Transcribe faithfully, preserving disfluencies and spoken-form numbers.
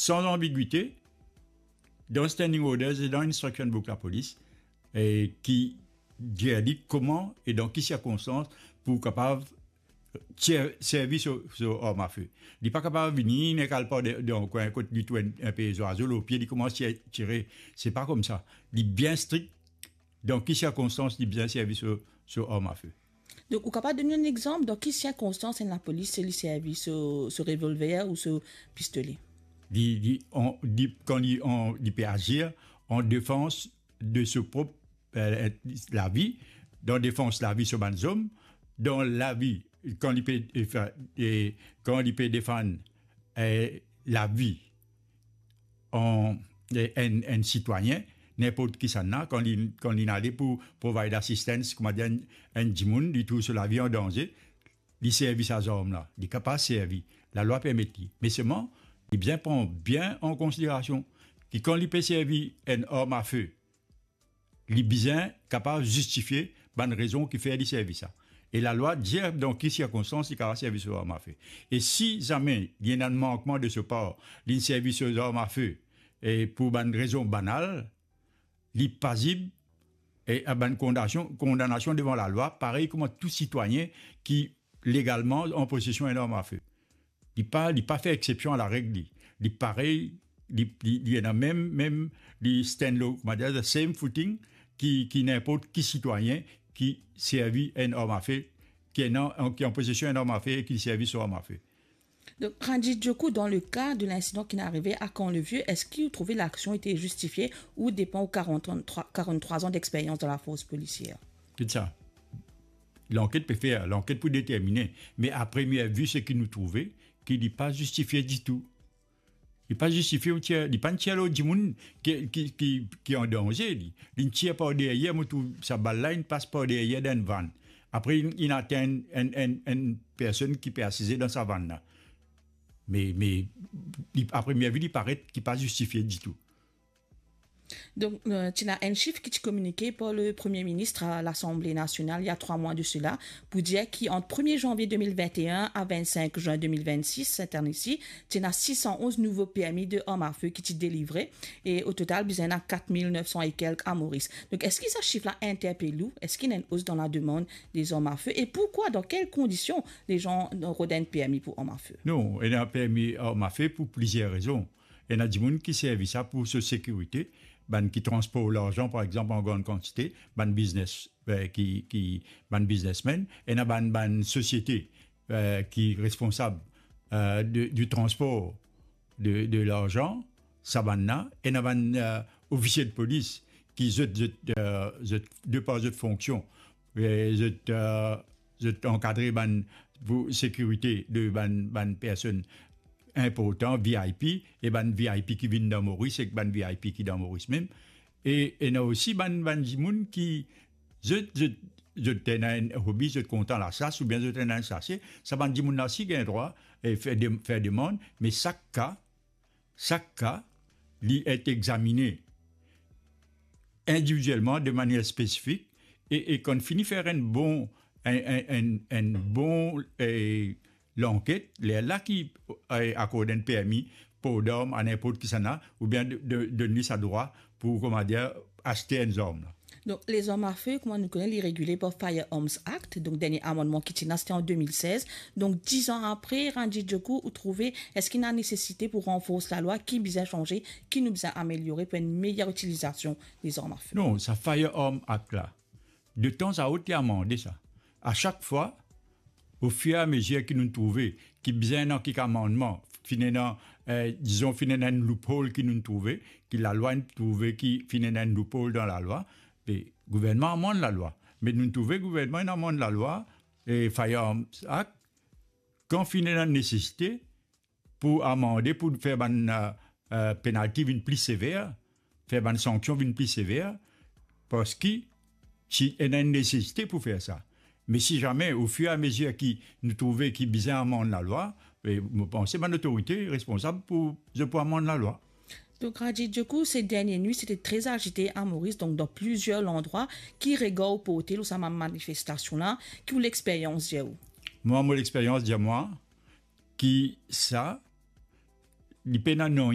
san anbigwite, dan standing orders e dan instruction book lapolis, e ki dir li kouma e dan ki sirkonstans pou kapav tir, servi so, so arm à feu. Li pa kapav vini, nek al par de, de, dan kwin kot li trouv enn, enn pe zwazo lor pie, li koumans tir, tire. Se pa koumsa. Li bien strik dan ki sirkonstans li bizin servi so, so arm à feu. Donk, ou kapav donn nou enn exanp dan ki sirkonstans enn lapolis li servi so, so revolver ou so pistole? Li, li, an, li, kan li, an, li pe azir an defans de so prop, eh, lavi, dan defans lavi so bann zom, dan lavi, kan li pe, eh, fa-, eh, kan li pe defann, eh, lavi an, eh, enn, enn sitwayin, ninport kisannla, kan li, kan li ale pou provide assistance, kouma dir, enn, enn dimoun, li trouv so lavi an danze, li servi sa zarm la, li kapav servi, lalwa permet li. Me selman, li bizin pran bien an konsiderasion ki kan li pe servi enn arm à feu, li bizin kapav zistifie bann rezon ki fer li servi sa. E lalwa dir dan ki sirkonstans li kapav servi so arm à feu. E si zame li ena enn mankman de so par, li servi so arm à feu, e pou bann rezon banal, li pazib, e a bann kondanasion, kondanasion devan lalwa, parey kouma tou sitwayin ki legalman an posesion enn arm à feu. Li pa, li pa fer exsepsion a lareg li. Li parey, li, li, li ena mem, mem, li stand lor, kouma dir, the same footing ki, ki ninport ki sitwayin ki servi enn arm à feu, ki ena, ki an posesion enn arm à feu e ki servi so arm à feu. Donc, Ranjit Djokou, dans le cas de l'incident qui est arrivé à Camp-le-Vieux, est-ce que vous trouvez l'action était justifiée ou depan ou quarante-trois, quarante-trois ans d'expérience dans la force policière? Ki sa? Lanket pe fer, lanket pou determine. Me a premie vi, seki nou trouve, ki li pa zistifie ditou. Li pa zistifie ou tir, li pa tir lor dimoun ki, ki, ki, ki an danze, li. Li tir par deryer, mo trouv sa bal la, li pas par deryer dan enn vann. Apre, li, li atenn enn, enn, enn personn ki pe asize dan sa vann la. Me, me, li, a premie vi, li paret ki pa zistifie ditou. Donk, euh, ti ena enn sif ki ti kominike par le Premier ministre à l'Assemblée nationale il y a trois mois de cela, pou dir ki ant premie zanvie de mil vinte et un a vennsenk zin de mil vennsis, set ane isi, ti ena sis san onz nouvo permi de arm à feu ki ti delivre, e o total, bizin ena kat mil nef san e kelk a Moris. Donk, eski sa sif la interpel ou? Eski ena enn os dan lademann de zarm à feu? E poukwa, dan kel kondision lezan rod enn permi pou arm à feu? Non, ena permi arm à feu pou plizier rezon. Ena dimoun ki servi sa pou so sekirite, bann ki transport larzan, par exanp, an gran kantite, bann biznes, eh, ki, ki, bann biznesmenn, ena bann, bann sosiete, eh, ki responsab, eh, de, di transpor de, de larzan, sa bann la, ena bann, eh, ofisie de polis ki zot, zot, eh, zot, de par zot fonksion, eh, zot, eh, zot ankadre bann, pou sekirite de bann, bann personn inportan, V I P, e bann V I P ki vinn dan Moris, ek bann V I P ki dan Moris mem. E ena osi bann, bann dimoun ki, zot, zot, zot ena enn hobi, zot kontan lasas, oubien zot ena enn sase, sa bann dimoun la osi gagn drwa, eh, fer de-, fer demann, me sak ka, sak ka, li et examine individielman, de manier spesifik, e, e kan fini fer enn bon, enn, enn, enn, enn bon, eh, lanket, lerla ki, eh, akord enn permi port d'arm a ninport kisannla, oubien de, de, donn li sa drwa pou, kouma dir, aste enn zarm la. Donk, lezarm à feu, kouma nou kone, li regile par Firearms Act. Donk, dernie amannman ki ti ena, sete an de mil sez. Donk, diz an apre, Ranjit Djokou, ou trouve, eski ena nesesite pou ranfors lalwa? Ki bizin sanze? Ki nou bizin ameliore pou enn meyer itilizasion lezarm à feu? Non, sa Firearms Act la, de tan a ot, li amande sa. A sak fwa, o fir e a mezir ki nou trouve ki bizin ena kik amannman, finn ena, eh, dizon, finn ena enn loophole ki nou trouve, ki lalwa inn trouve ki finn ena enn loophole dan lalwa, be gouvernman amann lalwa. Me nou trouve gouvernman inn amann lalwa, eh, Firearms Act, kan finn ena nesesite, pou amande, pou fer bann, eh, eh, penalti vinn pli sever, fer bann sanksion vinn pli sever, parski ti ena enn nesesite pou fer sa. Me si zame, o fir e a mezir ki nou trouve ki bizin amann lalwa, e mo panse bann lotorite responsab pou, zot pou amann lalwa. Donk, Ranjit Djokou, ces dernières nuits, c'était très agité à Maurice. Donc, dans plusieurs endroits, ki regar ou porte lor sa bann manifestasion la, ki ou lexperyans dir ou? Mwa, mo lexperyans dir mwa, ki sa, li pena nanye